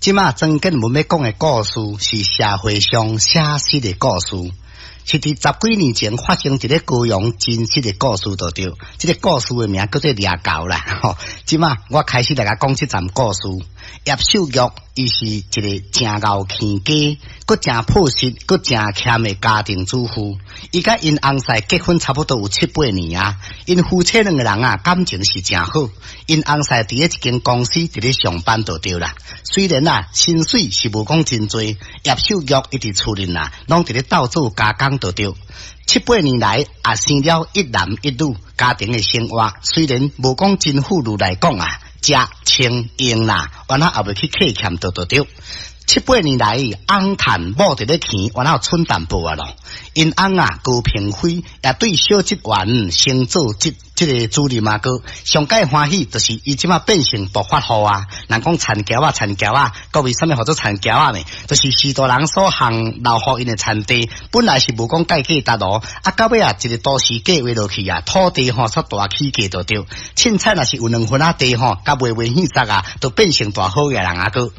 這馬曾建文欲講的故事是社會上寫實的故事，是佇十幾年前發生佇咧高雄真實的故事就對。這个故事的名叫做掠猴啦。吼，這馬我開始來共講這站故事。葉秀玉伊是一个誠𠢕起家，閣誠樸實，閣誠儉的家庭主婦。伊佮𪜶翁婿結婚差不多有七八年啊，𪜶夫妻兩个人啊感情是誠好。𪜶翁婿佇咧一間公司佇咧上班就對啦。雖然啊薪水是無講真濟，葉秀玉伊佇厝裡啊，攏佇咧鬥做加工就對。七八年來也生了一男一女，家庭的生活雖然無講真富裕來講啊，食穿用啦，原來也袂去客欠就對。七八年來，翁趁某佇咧錢，原來有剩淡薄仔囉。𪜶翁啊高平輝也對小職員升做這个主任啊閣，上蓋歡喜就是伊這馬變成暴發戶啊！人講田僑仔，田僑仔，閣為啥物號做田僑仔呢？就是許多人所行留予𪜶的田地，本來是無講蓋價值囉，啊到尾啊一个都市計劃落去啊，土地吼煞大起價就對。凊彩若是有兩分仔地吼，共賣賣現實啊，就變成大好額人啊閣。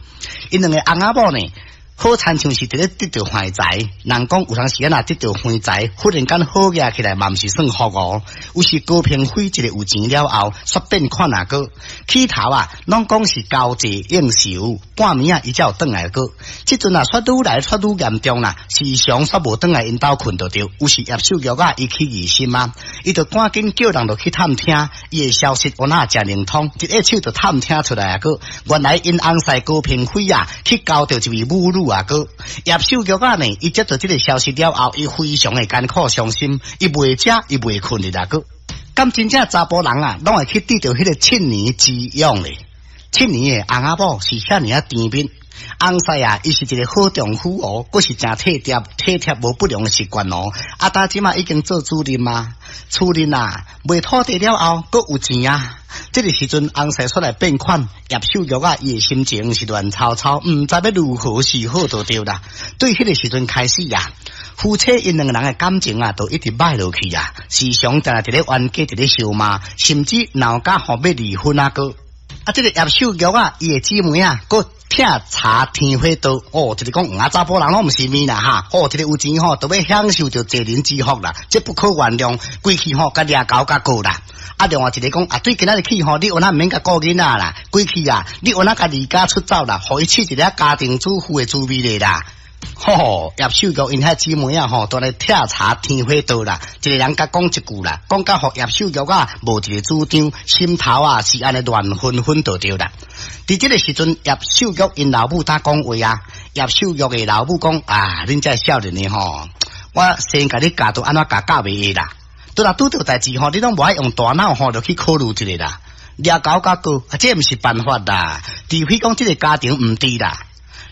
𪜶兩个翁仔某呢，好親像是佇咧得著橫財，人講有當時仔若得著橫財，忽然間好額起來嘛毋是算福哦。有時高平輝一个有錢了後，煞變款啊閣，起頭啊，攏講是交際應酬，半暝仔伊才有轉來閣。這陣啊，煞愈來煞愈嚴重啦，時常煞無轉來𪜶兜睏就對。有時葉秀玉啊，伊起疑心啊，伊就趕緊叫人落去探聽，伊的消息有哪誠靈通，一下手就探聽出來啊閣。原來𪜶翁婿高平輝啊，去交著一位母女啊閣。葉秀玉啊呢，伊接到這个消息了後，伊非常的艱苦傷心，伊袂食，伊袂睏的啦閣。敢真正查埔人啊，攏會去得著彼个七年之癢咧。七年的翁仔某是遐爾仔甜蜜，翁婿啊，伊是一个好丈夫哦，閣是誠體貼體貼無不良的習慣哦。啊，今這馬已經做主任啊，厝裡啊賣土地了後，閣有錢啊。這个時陣，翁婿出來變款，葉秀玉啊，伊的心情是亂糟糟，毋知欲如何是好就對啦。對彼个時陣開始啊，夫妻𪜶兩个人的感情啊，就一直歹落去啊，時常定定佇咧冤家，佇咧相罵，甚至鬧甲吼欲離婚啊閣。啊，這个葉秀玉啊，伊的姊妹啊，閣拆柴添火刀哦，一个講黃仔查埔人攏毋是物啦哈，哦，一个有錢吼，就欲享受著濟人之福啦，這不可原諒，規氣吼共掠猴共告啦。啊，另外一个講啊，對今仔日起吼，你有哪毋免共顧囡仔啦，規氣啊，你有哪共離家出走啦，予伊試一下家庭主婦的滋味咧啦。吼，葉秀玉𪜶遐姊妹啊吼，都來拆柴添火刀啦，一个人共講一句啦，講甲予葉秀玉啊無一个主張，心頭啊是按呢亂紛紛就對啦。佇這个時陣，葉秀玉𪜶老母佇講話啊，葉秀玉的老母講啊，恁這少年的吼，我先共你教著按怎教教袂會啦。拄若拄著代誌吼，你攏無愛用大腦吼，就去考慮一下啦。掠猴共告，啊，這毋是辦法啦。除非講這个家庭毋治啦。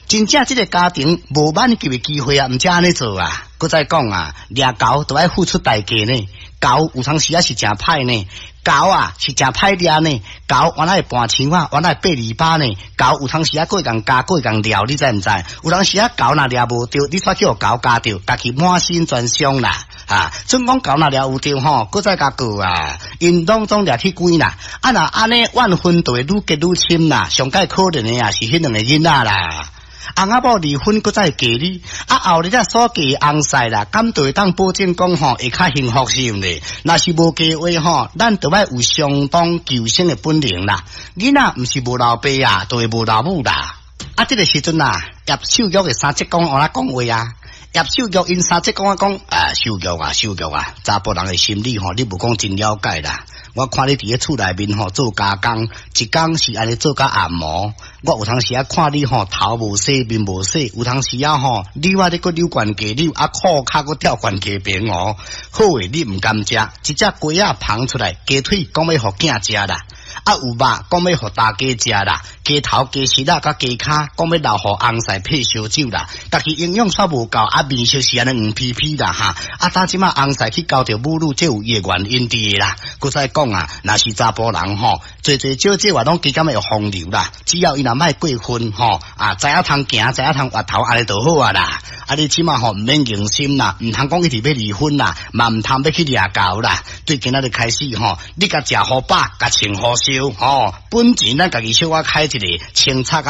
真正這个家庭無挽救的機會啊，毋才按呢做啊。閣再講啊，掠猴都愛付出代價呢。猴有當時仔是誠歹呢，猴啊是誠歹掠呢。猴原來會盤牆仔，原來會爬籬笆呢。猴有當時仔閣會共咬，閣會共抓，你知毋知？有當時仔猴若掠無著，你煞去予猴咬著，家己滿身全傷啦。啊，準講猴若掠有著吼，閣再共告啊，𪜶攏總掠去關啦。啊若按呢怨恨就會愈結愈深啦。上蓋可憐的啊是彼兩个囡仔啦。翁仔某離婚，閣再嫁你，啊後日仔所嫁翁婿啦，敢就會當保證講吼會較幸福是毋是？若是無嫁話吼，咱就愛有相當求生的本領啦。囡仔毋是無老爸啊，就會無老母啦。啊，這个時陣啊，葉秀玉的三叔公有怎講話啊？葉秀玉𪜶三叔公啊講啊，秀玉啊，秀玉啊，查埔人的心理吼，你無講真了解啦。我看你佇咧厝內面吼做加工，一工是按呢做甲暗暝。我有當時仔看你吼頭無洗面無洗，有當時仔吼扭仔咧閣扭懸低扭，啊褲跤閣跳懸低爿哦。好的你毋甘食，一隻雞仔捧出來，雞腿講欲予囝食啦。啊有肉講欲予大家食啦，雞頭雞翼仔佮雞跤講欲留予翁婿配燒酒啦。家己營養煞無夠，啊面色是按呢黃皮皮啦哈。啊，當這馬翁婿去交著母女，這有伊的原因佇啦。閣再講啊，若是查埔人吼，濟濟少少啊，攏加減會風流啦。只要伊若莫過分吼，啊，知影通行，知影通越頭，按呢就好啊啦。啊，你這馬吼毋免硬心啦，毋通講一直欲離婚啦，嘛毋通欲去掠猴啦。對今仔日開始吼，你共食予飽，共穿予燒吼，本錢咱家己小可開一下，清炒較。